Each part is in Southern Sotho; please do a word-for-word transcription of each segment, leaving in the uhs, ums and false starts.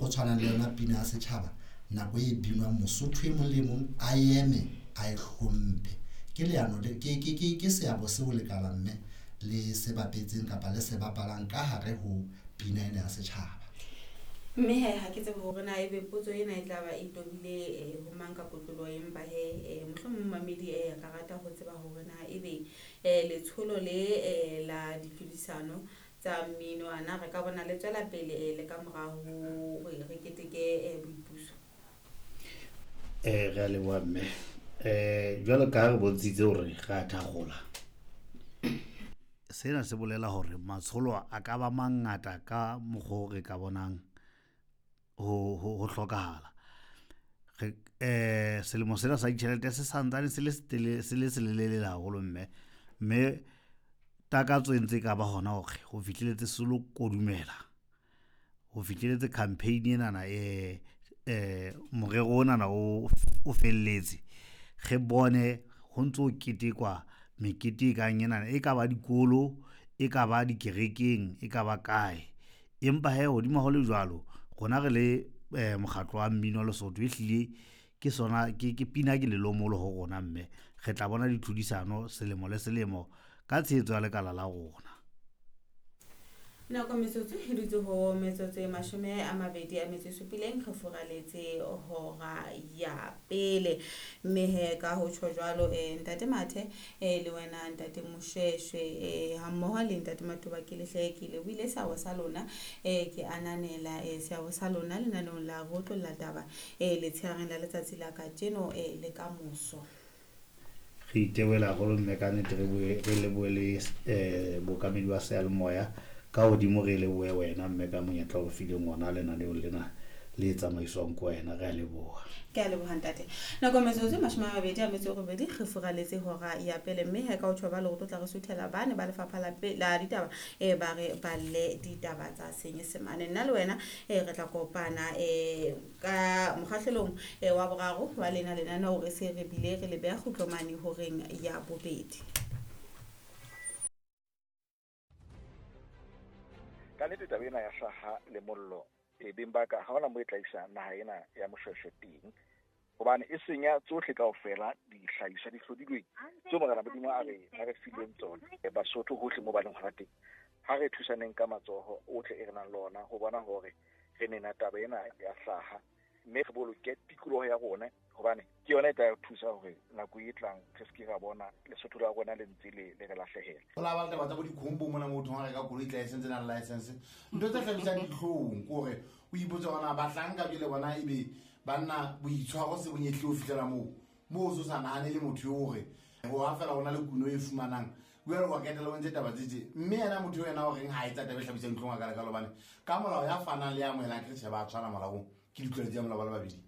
tshwanang le yona pina ya setjhaba nako e binwang Mosotho e mong le mong a eme a e hlomphe. Ke leano le ke ke ke ke seabo seo lekala mme le se bapetseng kapa le se bapalang ka hare ho pina ena ya setjhaba. Mme he ha ke tsebe hore na ebe potso ena e tla ba e tobile eh, ho mang ka kotloloho, empa he eh, mohlomong momamedi eh, a ka rata ho tseba hore na ebe eh, letsholo le eh, la ditlhodisano tsa mmino ana re ka bona le tswela pele eh, le ka mora hore re keteke eh, boipuso. Eh re a leboha mme. Eh jwalo ka ha re bontshitse hore re a thakgola. Sena se bolela hore matsholo a ka ba mangata ka mokgwa o re ka bonang ho ho ho hlokahala. Re eh selemo sena sa ditjhelete se santsane se le setele se le selelele haholo mme mme takatso e ntse e ka ba hona hore ho fihlelletse se lo kodumela ho fihlelletse campaign enana eh eh morero onana o o felletse re bone ho ntso ketekwa mekete e kang enana e ka ba dikolo e ka ba dikerekeng e ka ba kae. Empa he hodima ho le jwalo rona re le eh, mokgatlo wa mmino wa Lesotho ehlile ke sona ke ke pina ke lelomolo ho rona mme re tla bona ditlhodisano selemo le selemo ka tshehetso ya lekala la rona. Nako metsotso e dutse ho metsotso e mashome a mabedi a metso e supileng re furaletse hora ya pele. Mme he ka ho tjho jwalo eh, ntate Mathe eh, le wena ntate Moshweshwe eh, ha mmoho le ntate Matoba ke lehle ke lebohile seabo sa lona eh, ke ananela eh, seabo sa lona lenaneong la ho otlolla taba eh, letshehareng la letsatsi la kajeno eh, le ka moso. Re itebohela haholo mme ka nnete re boe re lebohe le eh bookamedi ba seyalemoya ka hodimo re lebohe wena mme ka monyetla o re fileng ona lenaneong lena le tsamaiswang ke wena re a leboha. Ke a leboha ntate. Nako metsotso e mashome a mabedi a metso e robedi re furaletse hora ya pele mme he ka ho tjho jwalo re tlo tla re suthela bane ba lefapha la pe- la ditaba eh, ba re balle ditaba tsa Senyesemane. Nna le wena eh, re tla kopana eh, ka mokgahlelong eh, wa boraro wa lena lenaneo re se re bile re le beha kgutlo mane horeng ya bobedi. Ka nnete taba ena ya hlaha le mollo e beng ba ka ha hona moo e tla isa naha ena ya Moshweshwe teng, hobane e senya tsohle kaofela dihlahiswa di hlodilweng tseo Morena Modimo a re a re fileng tsona. Eh, Basotho hohle moo ba leng hona teng, ha re thusaneng ka matsoho ohle e re nang le ona ho bona hore re nena taba ena ya hlaha, mme re boloke tikoloho ya rona, hobane ke yona e tla re thusa hore nako e tlang re se ke ra bona Lesotho la rona le ntse le le re lahlehela. Ho la ba le taba tsa bo dikhombo mona moo thong a reka koloi license na le license. Ntho tse hlabisang dihlong ke hore o ipotse hore na bahlanka jwale bona ebe banna boitshwaro se bo nyehlile ho fihlela moo. Moo o so sa nahane le motho eo hore ho ha fela hona le kuno e fumanang. Jwale wa ketela o ntse taba tse tje. Mme yena motho eo yena o reng ha etsa taba e hlabisang dihlong a ka leka hobane ka molao ya fanang le ya amohelang ke tjhe ba tshwana molaong ke ditlwaelo tsa molao ba le babedi.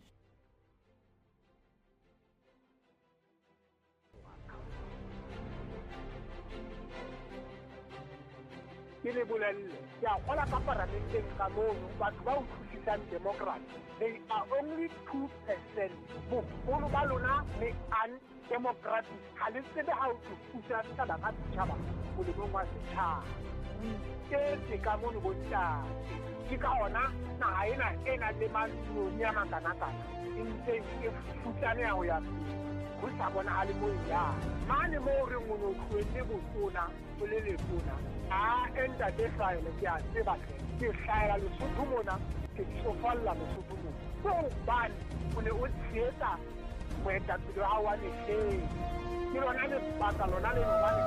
Ke le bolelle, ke a kgola ka paramenteng ka mono, batho ba utlwisisang democracy, they are only two percent. Boholo ba lona le undemocratic. Ha le tsebe ha o tlo pusa setjhaba ka setjhaba molemong wa setjhaba. O iketse ka mono bontate. Ke ka hona naha ena e nang le mantsiboya a makanakana e ntse e futsaneha ho ya pele. Ho sa bonahale moo e yang. Mane moo re reng o no tlohelle botona, o le letona. A ntate Hlahele, ke a tseba hle. Ke hlahela Lesotho mona, ke tsofalla Lesotho mona. Ke hobane o ne o tshehetsa moetapele wa hao wa mehleng. Ke lona lebaka lona leno hobane